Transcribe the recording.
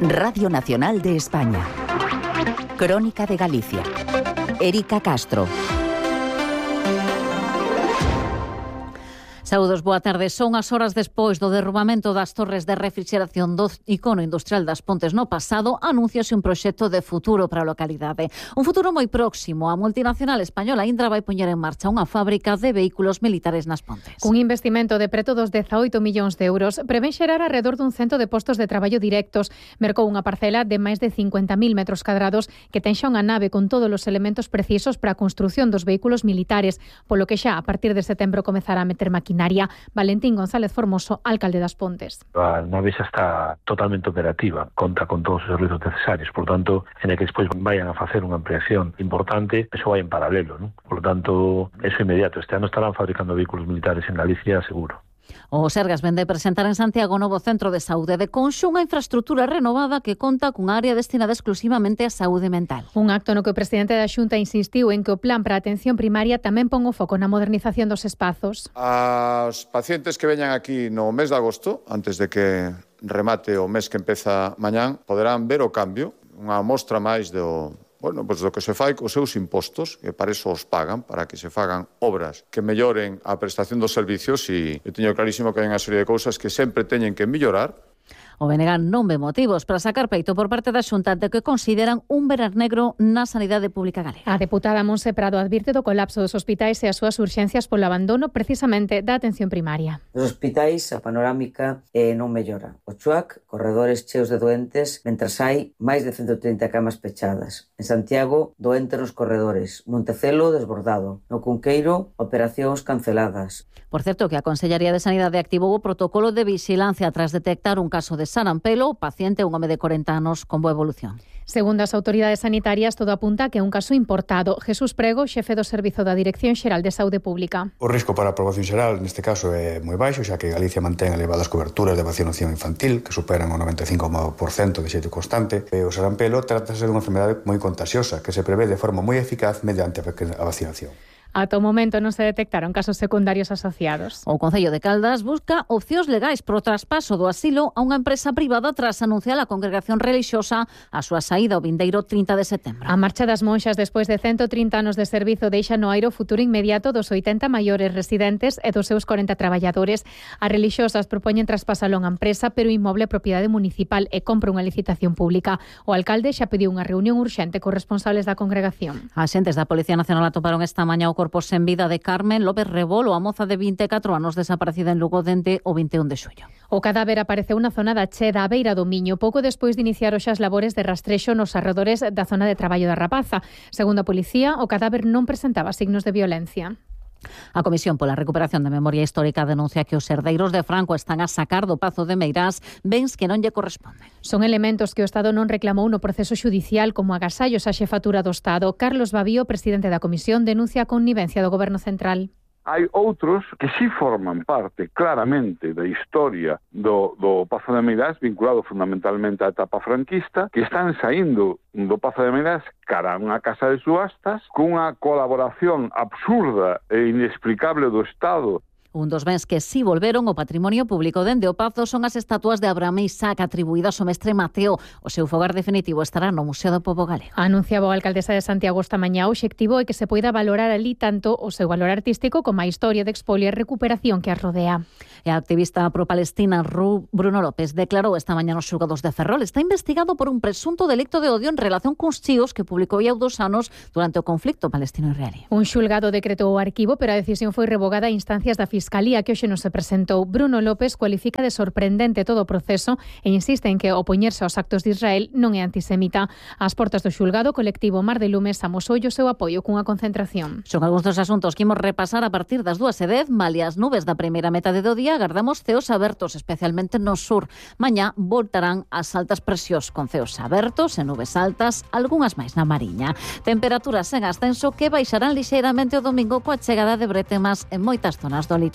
Radio Nacional de España. Crónica de Galicia. Érica Castro. Saúdos, boa tarde. Son as horas despois do derrubamento das torres de refrigeración do icono industrial das Pontes no pasado, anúnciase un proxecto de futuro para a localidade. Un futuro moi próximo. A multinacional española Indra vai poñer en marcha unha fábrica de vehículos militares nas Pontes. Un investimento de preto dos 18 millóns de euros prevén xerar alrededor dun 100 de postos de traballo directos. Mercou unha parcela de máis de 50.000 metros cadrados que ten xa unha nave con todos os elementos precisos para a construción dos vehículos militares, polo que xa a partir de setembro comezará a meter maquinaria. Valentín González Formoso, alcalde das Pontes. A nave xa está totalmente operativa, conta con todos os servizos necesarios, por tanto, en el que despois vayan a facer unha ampliación importante, eso vai en paralelo, ¿no? Por tanto, eso inmediato. Este ano estarán fabricando vehículos militares en Galicia, seguro. O Sergas vende presentar en Santiago o novo centro de saúde de Conxo, unha infraestructura renovada que conta cunha área destinada exclusivamente á saúde mental. Un acto no que o presidente da Xunta insistiu en que o plan para a atención primaria tamén pon o foco na modernización dos espazos. As pacientes que veñan aquí no mes de agosto, antes de que remate o mes que empeza mañán, poderán ver o cambio, unha mostra máis do que se fai cos seus impostos, que para eso os pagan, para que se fagan obras que melloren a prestación dos servicios, e eu teño clarísimo que hai unha serie de cousas que sempre teñen que mellorar. O BNG non ve motivos para sacar peito por parte da Xunta de que consideran un verar negro na sanidade pública galega. A deputada Monse Prado advirte do colapso dos hospitais e as súas urxencias polo abandono precisamente da atención primaria. Nos hospitais a panorámica non mellora. O CHUAC, corredores cheos de doentes, mentras hai máis de 130 camas pechadas. En Santiago, doente nos corredores. Montecelo, desbordado. No Cunqueiro, operacións canceladas. Por certo, que a Consellería de Sanidade activou o protocolo de vixilancia tras detectar un caso de sarampelo, o paciente un home de 40 anos con boa evolución. Segundo as autoridades sanitarias, todo apunta a que é un caso importado. Jesús Prego, xefe do Servizo da Dirección Xeral de Saúde Pública. O risco para a poboación xeral neste caso é moi baixo, xa que Galicia mantén elevadas coberturas de vacinación infantil, que superan o 95% de xeito constante. E o sarampelo trátase dunha enfermedade moi contagiosa, que se prevé de forma moi eficaz mediante a vacinación. Ata o momento non se detectaron casos secundarios asociados. O Concello de Caldas busca opcións legais pro traspaso do asilo a unha empresa privada tras anunciar a congregación relixiosa a súa saída o vindeiro 30 de setembro. A marcha das monxas despois de 130 anos de servizo deixa no aire o futuro inmediato dos 80 maiores residentes e dos seus 40 traballadores. As relixiosas propoñen traspasalo a unha empresa, pero o inmoble é propiedade municipal e compra unha licitación pública. O alcalde xa pediu unha reunión urxente cos responsables da congregación. Axentes da Policía Nacional atoparon esta mañá o corpo sen vida de Carmen López Rebolo, a moza de 24 anos desaparecida en Lugo dende o 21 de xullo. O cadáver apareceu na zona da Cheda, a beira do Miño, pouco despois de iniciar os as labores de rastrexo nos arredores da zona de traballo da Rapaza. Segundo a policía, o cadáver non presentaba signos de violencia. A Comisión pola Recuperación da Memoria Histórica denuncia que os herdeiros de Franco están a sacar do Pazo de Meirás bens que non lle corresponden. Son elementos que o Estado non reclamou no proceso xudicial como agasallos á xefatura do Estado. Carlos Babío, presidente da Comisión, denuncia a connivencia do Goberno Central. Hai outros que sí forman parte claramente da historia do Pazo de Meirás, vinculado fundamentalmente á etapa franquista, que están saindo do Pazo de Meirás cara a unha casa de subastas cunha colaboración absurda e inexplicable do Estado. Un dos bens que si volveron ao patrimonio público dende o Pazo son as estatuas de Abraham e Isaac atribuídas ao mestre Mateo. O seu fogar definitivo estará no Museo do Pobo Galego. Anunciaba a alcaldesa de Santiago esta mañá o obxectivo é que se poida valorar ali tanto o seu valor artístico como a historia de expolio e recuperación que as rodea. E a activista pro-palestina Bruno López declarou esta mañá nos xulgados de Ferrol. Está investigado por un presunto delicto de odio en relación cuns chíos que publicou hai 2 anos durante o conflicto palestino-israelí. Un xulgado decretou o arquivo, pero a decisión foi revogada a instancias da Fiscalía que hoxe non se presentou. Bruno López cualifica de sorprendente todo o proceso e insiste en que opoñerse aos actos de Israel non é antisemita. Ás portas do xulgado, o colectivo Mar de Lumes amosou o seu apoio cunha concentración. Son algúns dos asuntos que imos repasar a partir das 2:10. Malia as nubes da primeira metade do día, agardamos ceos abertos, especialmente no sur. Mañá voltarán as altas presións con ceos abertos e nubes altas, algunhas máis na Mariña. Temperaturas en ascenso que baixarán lixeiramente o domingo coa chegada de bretemas en moitas zonas do litoral.